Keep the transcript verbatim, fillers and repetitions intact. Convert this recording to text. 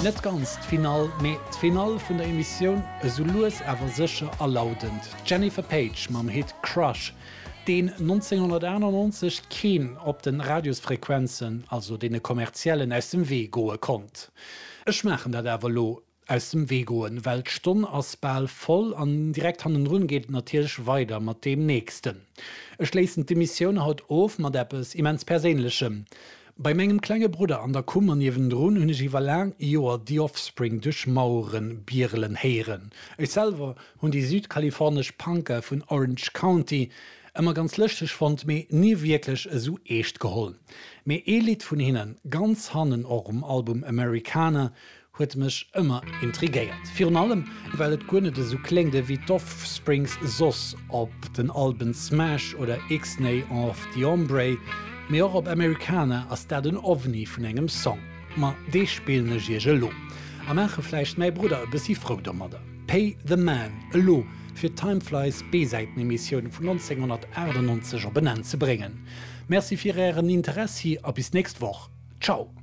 Net ganz d'Finall, mee d'Finall vun der Emissioun esou lues awer sécher alaudend. D'Jennifer Paige mam Hit Crush, deen nonzénghonnertaachtanonzeg keen op de Radiosfrequenzen, also deene kommerziellen, aus dem Wee goe konnt. Ech maachen dat awer elo, aus dem Wee goen, well d'Stonn ass bal voll an direkt hannendrun geet et natierlech weider mat deem nächsten. Ech schléissen d'Emissioun haut of mat eppes immens Perséinlechem. Bei mengem klenge Brudder an der Kummer niewendrun hunn ech iwwer laang Joer The Offspring duerch Mauere bierelen héieren. Ech selwer hunn déi südkalifornesch Punker vun Orange County ëmmer ganz lëschteg fonnt, mee ni wierklech esou eescht geholl. Mee ee Lidd vun hinnen, ganz hannen och um Album Americana, huet mech ëmmer intrigéiert. Virun allem, well et guer net esou kléngt ewéi d'Offsprings soss op den Alben Smash oder Ixnay of the Hombre, mee och op Americana ass dat en Ovni vun engem Song. Ma dee spillen ech iech elo a maache vläicht mäi Brudder e bëssi frou domadder. Pay the Man elo, fir d'Time Flies B-Säiten-Emissioun vun nonzénghonnertaachtannonzeg op en Enn ze bréngen. Merci fir ären Interessi a bis d'nächst Woch. Ciao!